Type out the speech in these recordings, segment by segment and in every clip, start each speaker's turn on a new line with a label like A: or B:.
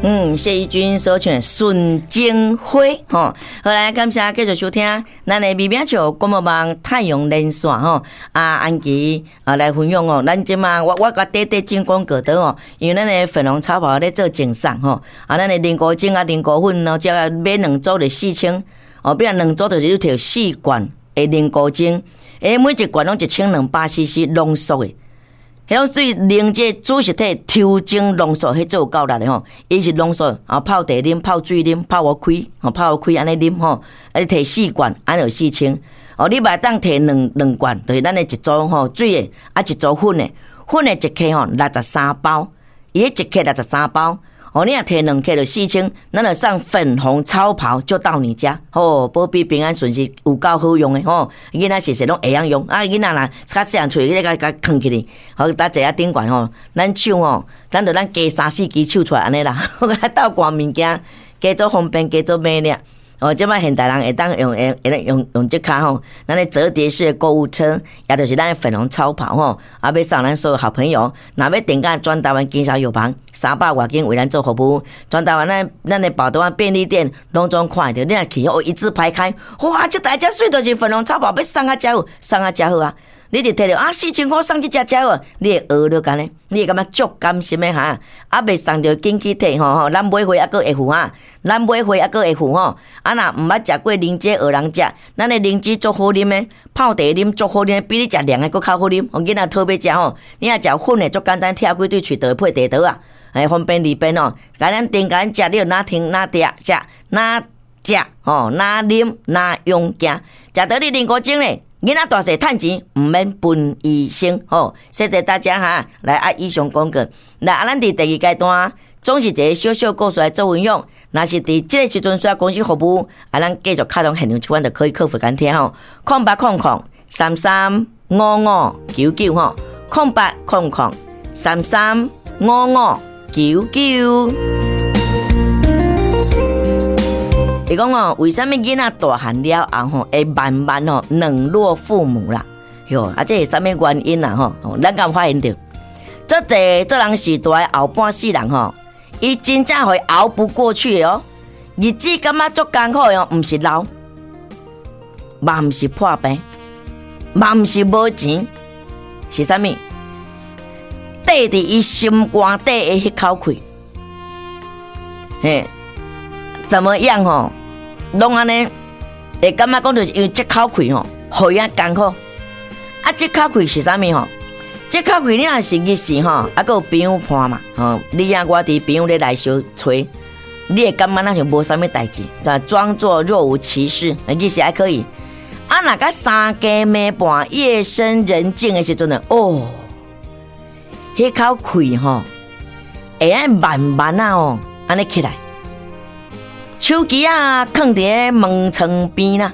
A: 謝宜君所唱的《純情花》吼，好來，感謝繼續收聽咱的美名笑廣播網太陽連線吼，啊，安琪啊來分享哦，咱這馬我共短短進廣告的哦，因為咱的粉紅超跑咧做贈送吼，啊，咱的靈菇精啊靈菇粉哦，這個買兩組就四千，哦，變兩組就是你提四罐的靈菇精，每一罐攏1200 cc 濃縮的。彼種水凝這子實體抽精濃縮，彼做有夠力的吼。伊是濃縮啊，泡茶啉、泡水啉、泡予開，吼泡予開按呢啉吼。啊，你提四罐，按呢就四千。哦，你嘛會當提兩罐，就是咱的一組吼水的，啊一組粉的，粉的一克吼63包，伊彼一克六十三包。哦，你若提兩克就四千，咱就送粉紅超跑就到你家，吼，保庇平安順遂，有夠好用的吼。囡仔細細攏會曉用，啊，囡仔若較細漢喙，彼個共囥起去，好，搭坐仔頂懸吼，咱手吼，咱就咱加三四支手出來按呢啦，鬥掛物件，加做方便，加做美咧。哦，這擺現代人會當用會會當用用這跤吼，咱的摺疊式的購物車，也就是咱的粉紅超跑吼，啊，欲送咱所有好朋友，若欲訂購全台灣經銷藥房三百外間為咱做服務，全台灣咱的寶德灣便利店攏總看會著，你若去哦，一字排開，哇，這台遮媠，就是粉紅超跑，欲送啊遮好，送啊遮好啊！你就提著啊，4000箍送去遮遮好，你會學著按呢，你會感覺足甘心的哈？啊，未送著緊去提吼吼，咱買貨猶閣會付哈，咱買貨猶閣會付吼。啊，若毋捌食過靈芝學人食，咱的靈芝足好啉的，泡茶啉足好啉，比你食涼的閣較好啉。予囡仔討欲食吼，你若食粉的足簡單，拆開對喙就會配茶糖啊，哎，方便利便哦。共咱訂共咱食，你就哪聽哪食食哪食吼，哪啉哪用行，食著你靈菇精咧。囡仔大細趁錢毋免分醫生吼，謝謝大家哈。來啊，以上廣告。來啊，咱佇第二階段總是一個小小故事來做分享。若是佇這個時陣需要公司服務，啊，咱繼續敲通現場這款就可以客服共聽吼。0800335599吼，0800335599。伊講哦，為啥物囡仔大漢了後吼，會慢慢吼冷落父母啦？喲，啊，這是啥物原因啊？吼，咱敢有發現著？足濟做人時代後半世人吼，伊真正會熬不過去的哦。日子感覺足艱苦的哦，毋是老，嘛毋是破病，嘛毋是無錢，是啥物？綴佇伊心肝底的彼口氣，嘿。怎麼樣吼？攏按呢，會感覺講就是因為這口氣吼，予伊艱苦。啊，這口氣是啥物吼？這口氣你若是日時吼，啊，閣有朋友伴嘛，吼，你啊我佇朋友咧來相揣，你會感覺若像無啥物代誌，就裝作若無其事，日時還可以。啊，若佮三更暝半夜深人靜的時陣呢，哦，彼口氣吼，會愛慢慢仔哦，按呢起來。手機仔囥佇咧門窗邊啦，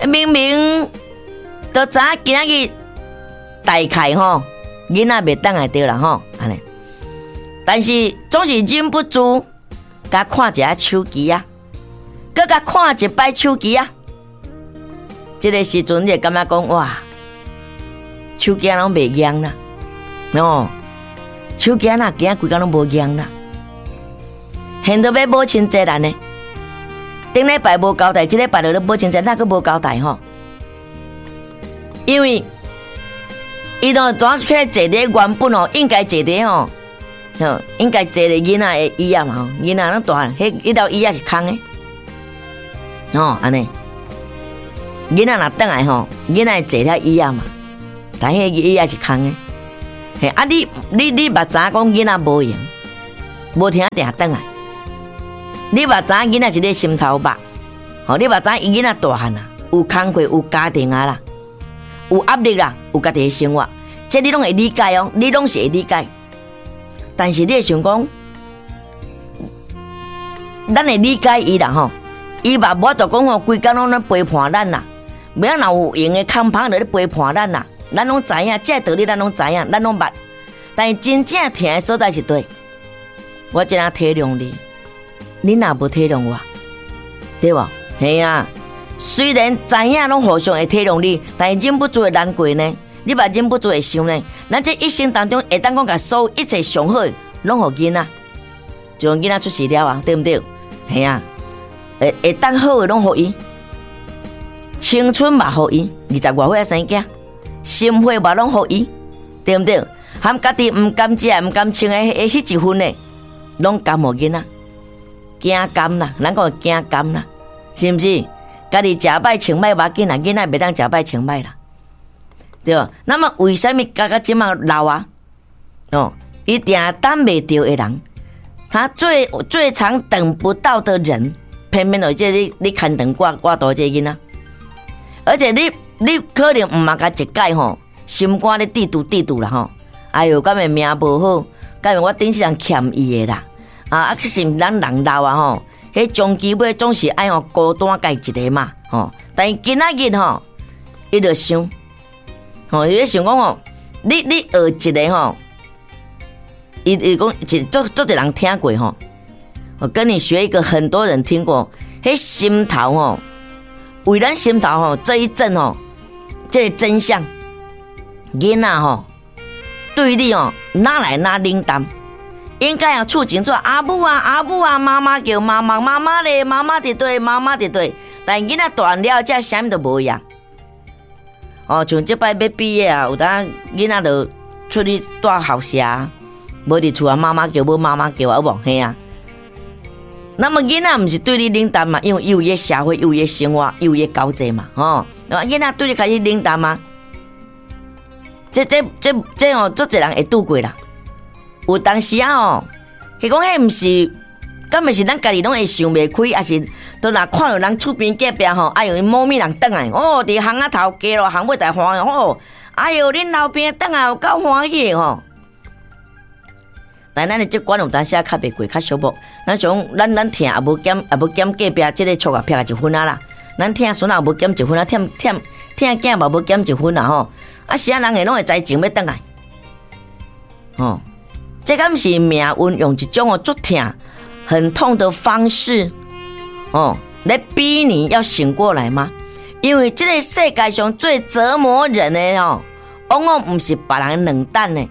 A: 明明都知影今仔日大概吼，囡仔袂轉來著啦吼，按呢，但是總是忍不住共看一下手機仔，閣共看一擺手機仔，這個時陣你會感覺講哇，手機仔攏袂用啦，哦，手機仔若今仔規工攏無用啦。現在欲母親節來呢，頂禮拜無交代，這禮拜就咧母親節，哪閣無交代吼？因為伊都轉起來坐佇原本哦，應該坐佇吼，吼應該坐佇囡仔的椅仔嘛吼，囡仔攏大漢，彼彼椅仔是空的，吼按呢，囡仔若轉來吼，囡仔會坐遐椅仔嘛，但彼個椅仔是空的，嘿啊你你你嘛知影講囡仔無閒，無停定轉來。你嘛知影囡仔是你心頭肉，吼！你嘛知影伊囡仔大漢啊，有工課有家庭啊啦，有壓力啦，有家己的生活，這你攏會理解哦，你攏是會理解。但是你會想講，咱會理解伊啦吼，伊嘛無法度講吼，規工攏咧陪伴咱啦，欲若有閒的空芳就咧陪伴咱啦，咱攏知影，這個道理咱攏知影，咱攏捌。但是真正疼的所在是佗，我這樣體諒你。你若無體諒我，對無？嘿啊，雖然知影攏互相會體諒你，但是忍不住會難過呢。你嘛忍不住會想呢。咱這一生當中，會當講共所有一切上好的，攏予囡仔。就囡仔出世了啊，對毋對？嘿啊，會會當好的攏予伊，青春嘛予伊，二十外歲仔生囝，心血嘛攏予伊，對毋對？含家己毋甘食、毋甘穿的彼一份的，攏甘予囡仔，驚甘啦，咱講驚甘啦，是毋是？家己食歹穿歹無要緊啦，囡仔袂當食歹穿歹啦，對無？那麼為啥物到這馬老啊？哦，伊定等袂著的人，他最最常等不到的人，偏偏就這你你牽腸掛掛肚這囡仔，而且你你可能毋嘛共一改吼，心肝咧嘀嘟嘀嘟啦吼，哎喲，敢會命無好？敢會我頂世人欠伊的啦？啊啊，其實咱人老啊吼，彼終其尾總是愛吼孤單家己一个嘛吼。但是今仔日吼，伊就想，吼，伊咧想講吼，你你學一个吼，伊伊講一足足濟人聽過吼，我跟你學一個很多人聽過，彼心頭吼，為咱心頭吼這一陣吼，這個真相，囡仔吼，對你哦，哪來哪冷淡？應該要處境做阿母啊，阿母啊，媽媽叫媽媽，媽媽咧，媽媽佇佗，媽媽佇佗。但囡仔大漢了，這啥物都無恙。哦，像這擺欲畢業啊，有當囡仔就出去蹛校舍，無佇厝啊，媽媽叫，無媽媽叫啊，有無？嘿啊。那麼囡仔毋是對你冷淡嘛？因為伊有伊社會，有伊生活，有伊交際嘛，吼。那麼囡仔對你開始冷淡嗎？這這這這哦，足濟人會拄過啦。有當時啊吼，彼講彼毋是，敢毋是咱家己攏會想袂開，抑是都若看著人厝邊隔壁吼，哎喲，𪜶某物人轉來，哦，佇巷仔頭街路巷尾台歡喜吼，哎喲，恁樓邊轉來有夠歡喜的吼。但咱的這關有當時仔較袂過，較寂寞。咱想，咱咱疼也無減，也無減隔壁這個厝仔撇一分仔啦。咱疼孫仔也無減一分仔，疼疼疼囝嘛無減一分啦吼。啊，啥人會攏會知情欲轉來？吼，這敢是命運用一種哦足疼、很痛的方式，哦，來逼你要醒過來嗎？因為這個世界上最折磨人的哦，往往毋是別人冷淡的，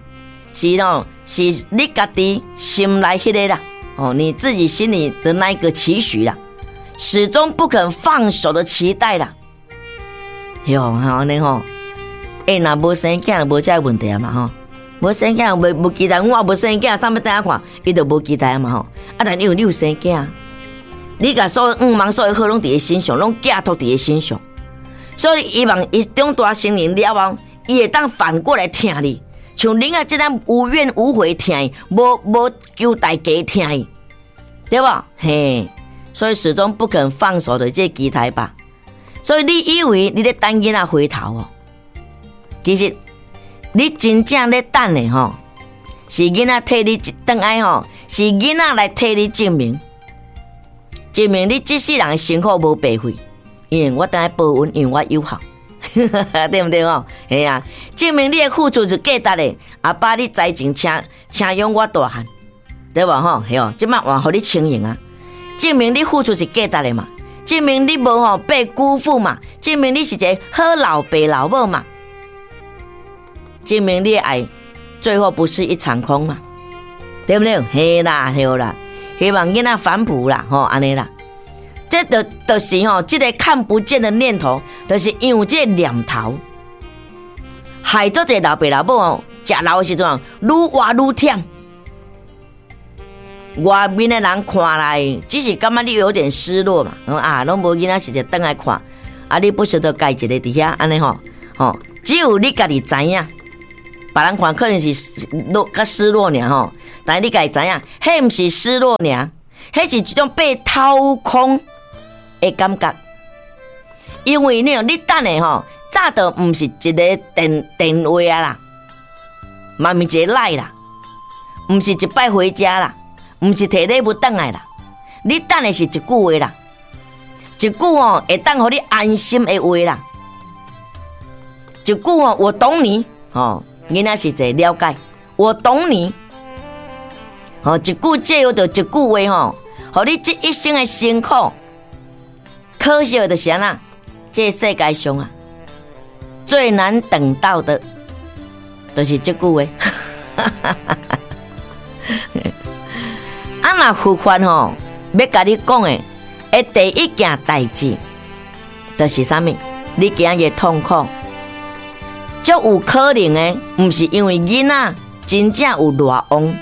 A: 是哦，是你家己心內彼个啦，哦，你自己心裡的那一個期許啦，始終不肯放手的期待啦。喲，按呢吼，欸，若無生囝，無這個問題啊嘛吼。無生囝，無無期待，我也無生囝，啥物等下看，伊就無期待嘛吼。啊，但因為你有生囝，你共所有願望、所有好攏佇伊身上，攏寄託佇伊身上，所以希望伊長大成人了後，伊會當反過來疼你，像恁仔這樣無怨無悔疼伊，無無求代價疼伊，對無？嘿，所以始終不肯放手的這個期待吧。所以你以為你咧等囡仔回頭哦？其實你真正咧等的吼，是囡仔替你轉來吼，是囡仔來替你證明，證明你這世人的辛苦無白費，因為我轉來報恩，因為我有孝，對毋對吼？嘿啊，證明你的付出是價值的。阿爸，你才情請請養我大漢，對無吼？嘿哦，這擺換予你輕盈啊，證明你付出是價值的嘛，證明你無吼被辜負嘛，證明你是一個好老爸老母嘛。證明你的愛最後不是一場空嘛，對毋對？嘿啦，對啦，希望囡仔反哺啦，吼，按呢啦，這就就是吼，這個看不見的念頭，就是因為這個念頭，害足濟老爸老母哦，食老的時陣愈活愈忝。外面的人看來，只是感覺你有點失落嘛，啊，攏無囡仔時陣轉來看，啊，你不捨得家一個佇遐，按呢吼，吼，只有你家己知影。別人看可能是落較失落爾吼，但是你家己知影，彼毋是失落爾，彼是一種被掏空的感覺。因為你你等的吼，早就毋是一個電電話啊啦，嘛毋是一個 LINE 啦，毋是一擺回家啦，毋是提禮物轉來啦，你等的是一句話啦，一句吼會當予你安心的話啦，一句吼我懂你吼。囡仔是一個了解，我懂你。吼，一句借由著一句話吼，予你這一生的辛苦，可惜的就是按怎？這個世界上啊，最難等到的，就是這句話。啊，若佛法吼，欲共你講的，的第一件代誌，就是啥物？你今仔日痛苦，足有可能的，毋是因為囡仔真正有偌戇，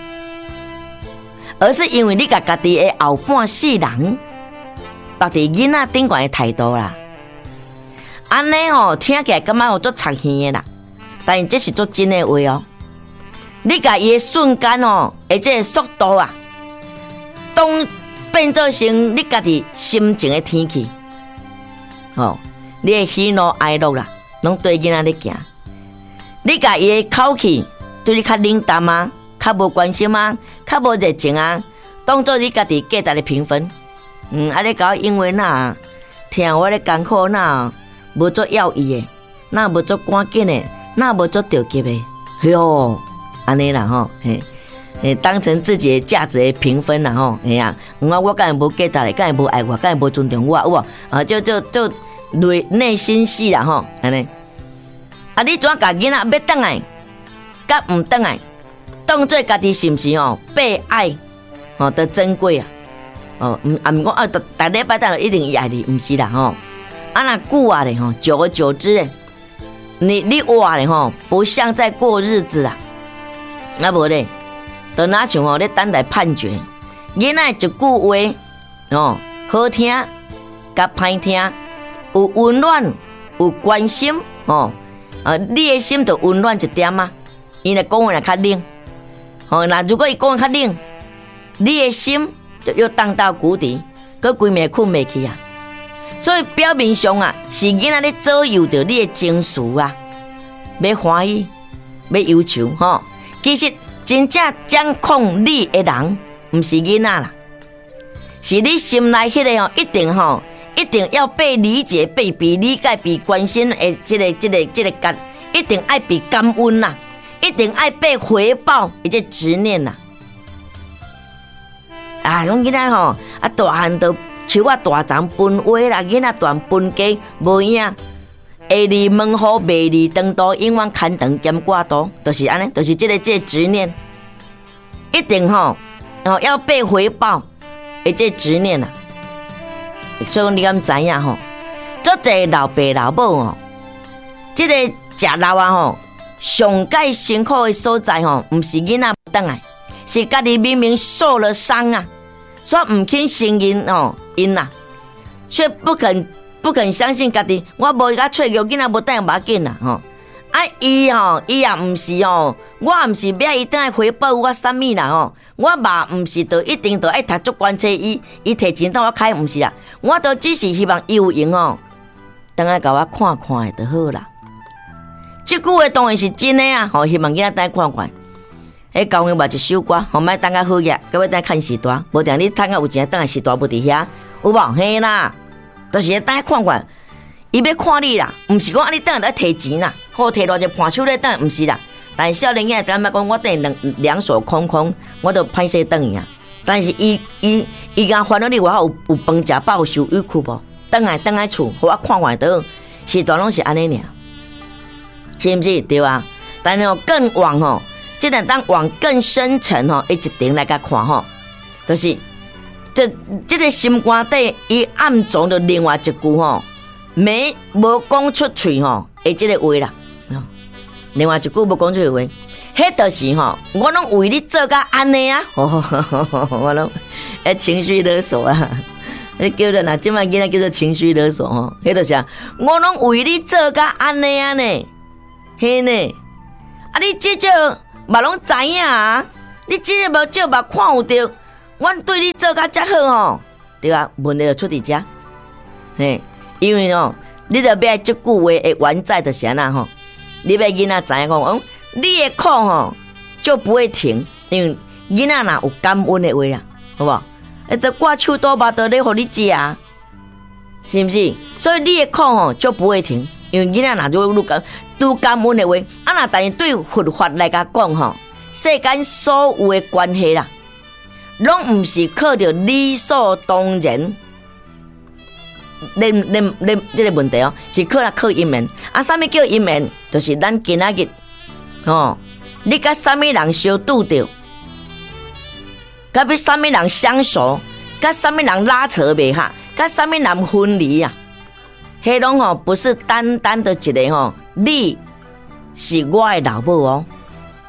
A: 而是因為你共家己的後半世人縛佇囡仔頂懸的態度啦。按呢吼，聽起來感覺有足插耳的啦，但是這是足真的話哦。你共伊的瞬間哦，的這个速度啊，當變做成你家己心情的天氣，吼，你的喜怒哀樂啦，攏對囡仔咧行。你共伊的口氣對你較冷淡啊，較無關心啊，較無熱情啊，當做你家己價值的評分。啊，你共我因為哪聽我咧艱苦，哪無足要伊的，哪無足趕緊的，哪無足著急的，喲，按呢啦吼，嘿，嘿，當成自己的價值的評分啦吼，嘿啊，我敢會無價值，敢會無愛我，敢會無尊重我，有無？啊，就就就內內心戲啦吼，按呢。啊，你怎共囡仔欲轉來，佮毋轉來，當做家己是毋是吼被愛吼的珍貴啊？哦，毋啊毋講啊，逐逐禮拜轉來一定伊愛你，毋是啦吼。啊，若久啊咧吼，久而久之咧，你活咧吼，不像在過日子啊。啊無咧，就若像吼咧等待判決。囡仔一句話，哦，好聽佮歹聽，有溫暖，有關心，哦，啊，你的心就溫暖一點啊。伊若講話若較冷，吼，若如果伊講話較冷，你的心就又盪到谷底，閣規暝睏袂去啊。所以表面上啊，是囡仔咧左右著你的情緒啊，欲歡喜，欲憂愁，吼。其實真正掌控你的人，毋是囡仔啦，是你心內彼个吼，一定吼，一定要被理解、被理解、被關心的這個感，一定愛被感恩啦，一定愛被回報，的這執念啦。啊，講囡仔吼，啊大漢就樹仔大叢分話啦，囡仔大漢分家無影，會離門戶，袂離長途，永遠牽腸兼掛肚，就是按呢，就是這個執念，一定吼，哦要被回報的這執念啊。所以講你敢知影吼？足濟老爸老母吼，這個食老啊吼，上蓋辛苦的所在吼，毋是囡仔轉來，是家己明明受了傷啊，煞毋肯承認吼𪜶啊，卻不肯相信家己，我無共脆弱，囡仔無轉來無要緊啦吼。啊，伊吼，伊也毋是吼，我也毋是欲伊轉來回報我啥物啦吼。我嘛毋是就一定就愛讀足懸冊，伊提錢當我開，毋是啊。我都只是希望伊有閒吼，轉來共我看看的就好啦。這句話當然是真的啊！吼，希望囡仔轉來看看。彼教養嘛一首歌，吼，莫等較好額，閣欲轉來趁序大，無定你趁較有錢，轉來序大無佇遐，有無？嘿啦，就是轉來看看。伊欲看你啦，毋是講啊，你轉來提錢啦，好提偌濟伴手禮轉來，毋是啦。但是少年囝感覺講，我轉來兩手空空，我都歹勢轉去啊。但是伊伊伊共煩惱你，我有飯食飽，受委屈無？轉來轉來厝，予我看看就好。序大攏是按呢爾，是毋是？對啊。但是哦，更往吼，這個當往更深層吼，一層來共看吼，就是這個心肝底，伊暗藏著另外一句吼，沒無講出喙吼，的這個話啦。另外一句無講出喙話，彼就是吼，我攏為你做甲按呢啊，我攏會情緒勒索啊，彼叫做若這擺囡仔叫做情緒勒索吼，彼就是啊，我攏為你做甲按呢啊呢，嘿呢，啊你至少嘛攏知影啊，你至少無少嘛看有著，阮對你做甲遮好吼，對啊，問題就出佇遮，嘿，因為吼，你著欲愛這句話的原在就是按怎吼。你欲囡仔知影講，嗯，你的苦吼就不會停，因為囡仔若有感恩的話啊，好無？會得掛手刀肉都咧予你食啊，是毋是？所以你的苦吼就不會停，因為囡仔若愈感愈感恩的話，啊若但是對佛法來共講吼，世間所有的關係啦，攏毋是靠著理所當然。恁恁恁，這個問題哦，是靠啊靠因緣。啊，啥物叫因緣？就是咱今仔日，吼，你佮啥物人相拄著，佮欲啥物人相熟，佮啥物人拉扯袂合，佮啥物人分離啊？彼攏吼不是單單的一個吼，你是我的老母哦，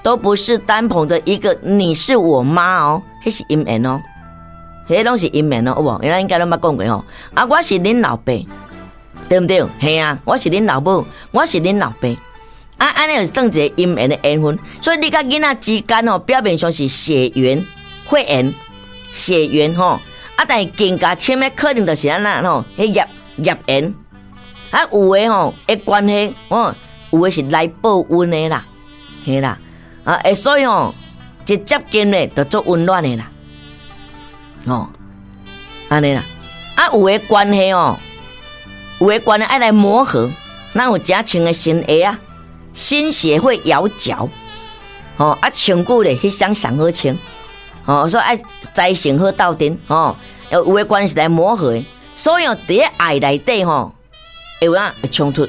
A: 都不是單憑的一個你是我媽哦，彼是姻緣哦，彼攏是姻緣哦，有無？咱應該攏捌講過吼。啊，我是恁老爸，對毋對？嘿啊，我是恁老母，我是恁老爸。啊，按呢就是當一個姻緣的緣分，所以你佮囡仔之間吼，表面上是血緣、血緣、血緣吼，啊，但是更加深的可能就是按怎吼，彼業業緣。啊，有的吼，的關係，哦，有的是來報恩的啦，嘿啦，啊，會所以吼，一接近咧，就足溫暖的啦，哦，按呢啦，啊，有的關係哦，有的關係愛來磨合，咱有誠穿的新鞋仔？新鞋會咬腳，吼，啊，穿久咧，彼雙上好穿，吼，所以愛栽成好鬥陣，吼，有的關係是來磨合的，所以佇咧愛內底吼，會有影會衝突，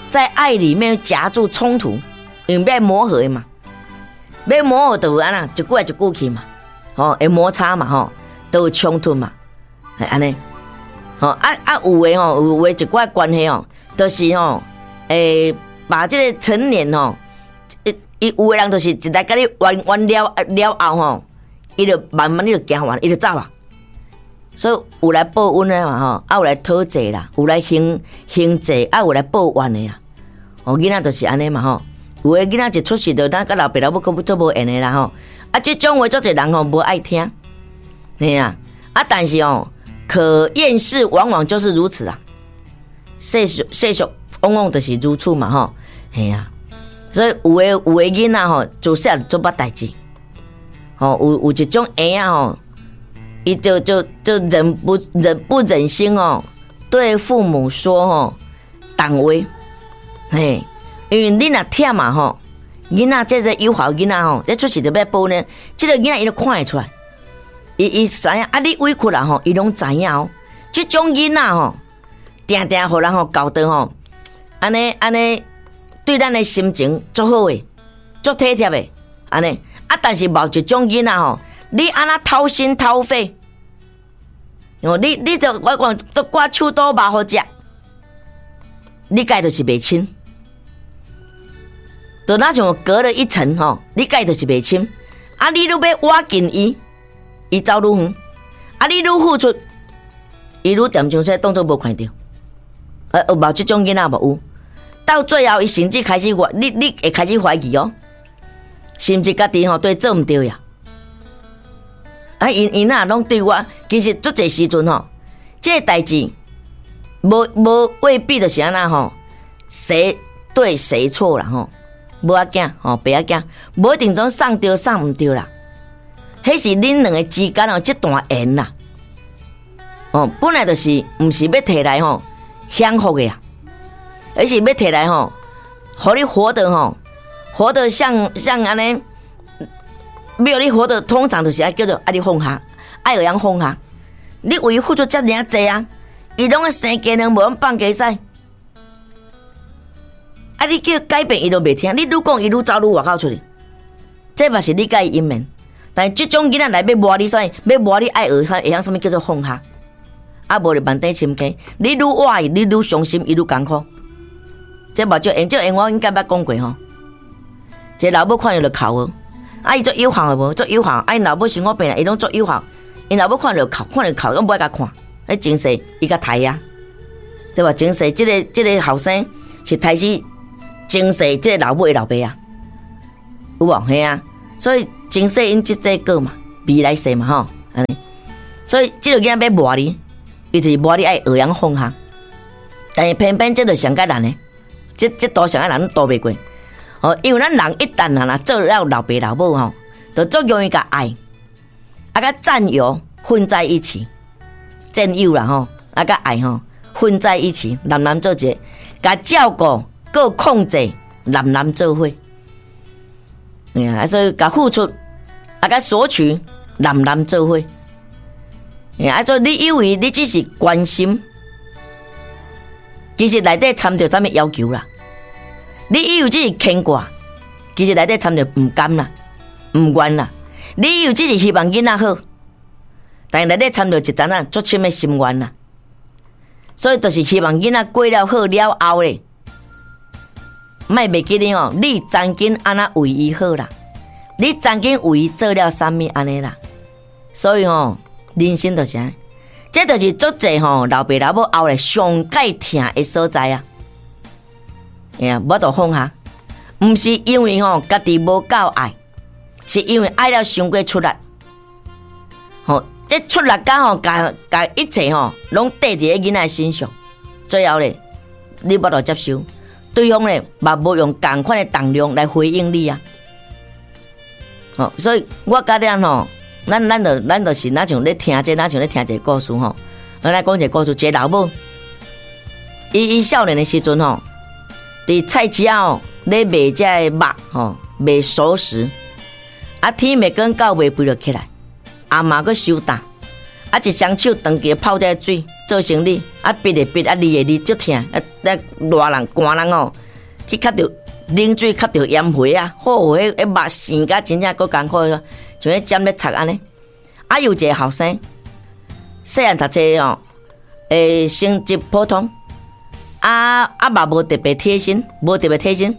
A: 在愛裡面夾住衝突，因為欲磨合的嘛，欲磨合就有按怎，一句來一句去嘛，吼，會摩擦嘛，吼，都有衝突嘛，係按呢，吼，啊啊有的吼，有的一寡關係吼，就是吼，把這個成年吼，伊伊有的人就是一來共你冤冤了了後吼，伊就慢慢你就驚完，伊就走啊。所以有來報恩的嘛吼，啊有來討債啦，有來還還債，啊有來報怨的啊。哦，囡仔就是按呢嘛吼，有的囡仔一出世就當佮老爸老母閣足無緣的啦吼。啊，這種話足濟人吼無愛聽，嘿啊，啊但是哦，可厭世往往就是如此啊。世俗世俗往往就是如此嘛吼，嘿啊。所以有的有的囡仔吼，自細漢做捌代誌，吼有有一種嬰仔吼，伊就就就忍不忍不忍心哦，對父母說吼，重話，嘿，因為你若忝嘛吼，囡仔這個有孝囡仔吼，這出世就欲報呢，這個囡仔伊都看會出來，伊伊知影啊，你委屈啦吼，伊攏知影哦。這種囡仔吼，定定予人吼教導吼，按呢按呢，對咱的心情足好的，足體貼的，按呢啊，但是某一種囡仔吼，你按怎掏心掏肺，哦，你你就我講都掛手刀肉予食，你共伊就是袂親，就若像隔了一層吼，你共伊就是袂親，啊，你愈欲倚近伊，伊走愈遠，啊，你愈付出，伊愈踮像說當作無看著，有無這種囡仔無有？到最後，伊甚至開始懷你，你會開始懷疑哦，是毋是家己吼對做毋對呀？啊，𪜶𪜶若攏對我，其實足濟時陣吼，這個代誌無無未必就是按怎吼，誰對誰錯啦吼，無要緊吼，袂要緊，無一定講送對送毋對啦，彼是恁兩个之間哦，這段緣啦，哦，本來就是毋是欲提來吼享福的啊，而是欲提來吼，予你活得吼，活得像像按呢。欲予你活得通常就是愛叫做愛你放下，愛會曉放下。你為伊付出遮爾仔濟啊，伊攏愛生雞卵無用放雞屎。啊！你叫改變伊都袂聽，你愈講伊愈走愈外口出去。這嘛是你共伊姻緣。但是這種囡仔來欲磨你啥物，欲磨你愛學啥，會曉啥物叫做放下。啊，無就萬塊深坑。你愈倚伊，你愈傷心，伊愈艱苦。這嘛就緣，這緣我應該捌講過吼。一个老母看著就哭。啊！伊足有孝的無？足有孝。啊！𪜶老母生我病，伊攏足有孝。𪜶老母看著哭，看著哭，攏無愛共看。彼前世伊共刣啊，對無？前世這个這个後生是刣死前世這个老母的老爸啊，有無？嘿啊！所以前世因積這果嘛，未來世嘛吼，按呢。所以這个囡仔欲磨你，伊就是磨你愛學曉放下。但是偏偏這就上較難的，這這途上較難渡袂過。哦，因為咱人一旦啊，若做了老爸老母吼，就足容易共愛，啊佮佔有混在一起，佔有啦吼，啊佮愛吼混在一起，濫濫做一个，共照顧、閣控制，濫濫做伙。啊，所以共付出啊，佮索取，濫濫做伙。啊，所以你以為你只是關心，其實內底摻著啥物要求啦？你以為這是牽掛，其實內底摻著毋甘啦，毋願啦。理由只是希望囡仔好，但內底摻著一層仔足深的心願啦。所以就是希望囡仔過了好了後咧，莫袂記得哦，你曾經按怎為伊好啦，你曾經為伊做了啥物按呢啦。所以吼，人生就是按呢，這就是足濟吼老爸老母後來上蓋疼的所在啊。哎呀，無法度放下，毋是因為吼家己無夠愛，是因為愛了傷過出力。吼，這出力甲吼，共共一切吼，攏綴佇咧囡仔身上。最後咧，你無法度接受，對方咧嘛無用仝款的重量來回應你啊。吼，所以我佮恁吼，咱就是若像咧聽這，若像咧聽一個故事吼。我來講一個故事，一個老母，伊少年的時陣吼，佇菜市仔吼咧賣這个肉吼，賣熟食，啊天欲光到袂肥就起來，阿媽閣收擔，啊一雙手長期泡這個水做生理，啊覕的覕，啊膩的膩，足疼，啊啊熱人寒人吼，去吸著冷水吸著炎血啊，好彼彼肉生甲真正閣艱苦，像彼針咧插按呢。啊有一个後生，細漢讀冊吼，成績普通。啊啊嘛無特別貼心，無特別貼心。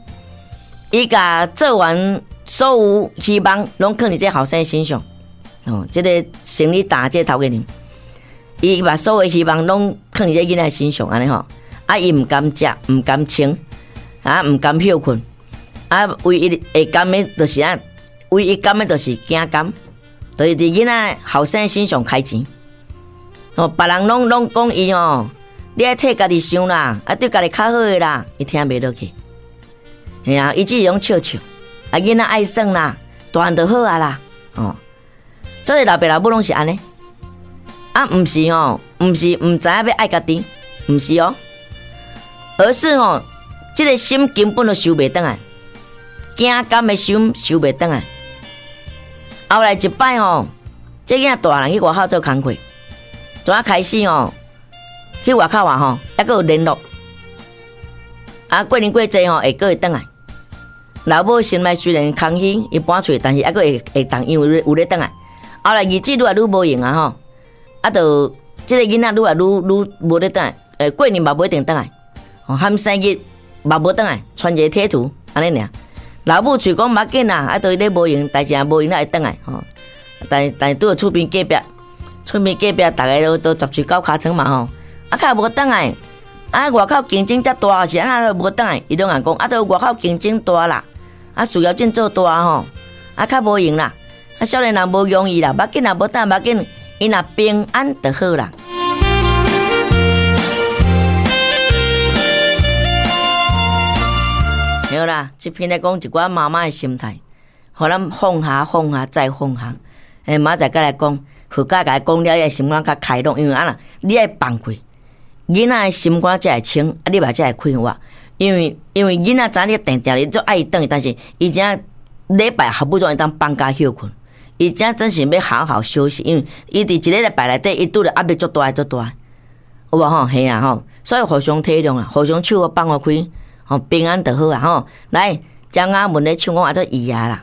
A: 伊共做完所有希望，攏囥佇這後生身上。哦，這個生理大這個頭家娘，伊把所有希望攏囥佇這囡仔身上，按呢吼。啊，伊毋甘食，毋甘穿，啊，毋甘歇睏，啊，唯一會甘的，就是啊，唯一甘的，就是驚甘，就是佇囡仔後生身上開錢。哦，別人攏攏講伊吼。你愛替家己想啦，啊對家己較好的啦，伊聽袂落去。嘿啊，伊只是攏笑笑，啊囡仔愛耍啦，大漢就好啊啦，哦。所以老爸老母攏是按呢，啊毋是吼，毋是毋知影欲愛家己，毋是哦，而是吼，這個心根本就收袂轉來，驚甘的心收袂轉來。後來一擺吼，這囡仔大漢去外口做工課，從仔開始吼。去外口啊吼，猶閣有聯絡。啊，過年過節吼會閣會轉來。老母心內雖然空虛，伊搬出去，但是猶閣會會當，因為有咧轉來。後來日子愈來愈無閒啊吼，啊，就這個囡仔愈來愈愈無咧轉來。過年嘛無一定轉來，吼，含生日嘛無轉來，傳一個貼圖按呢爾。老母喙講無要緊啦，啊，都伊咧無閒，代誌若無閒才會轉來吼。但但拄著厝邊隔壁，厝邊隔壁逐个都都十喙九尻川嘛吼。啊，較無轉來，啊，外口競爭遮大是按怎無轉來？伊攏會講，啊，都外口競爭大啦，啊，事業正做大吼，啊，較無閒啦，啊，少年人無容易啦，無要緊啦，無轉無要緊，伊若平安就好啦。對啦，這篇咧講一寡媽媽的心態，予咱放下、放下再放下。欸，明仔載閣來講，佛教共伊講了，你的心肝較開朗，因為按怎，你愛放過。囡仔的心肝才會清，啊，你嘛才會快活。因為因為囡仔知影你定定咧足愛伊轉去，但是伊這禮拜好不容易當放假歇睏，伊這真是欲好好休息，因為伊佇一个禮拜內底，伊拄著壓力足大足大，有無吼？嘿啊吼，所以互相體諒啊，互相手放予開，吼平安就好啊吼。來，張阿文咧唱講阿做伊啊啦。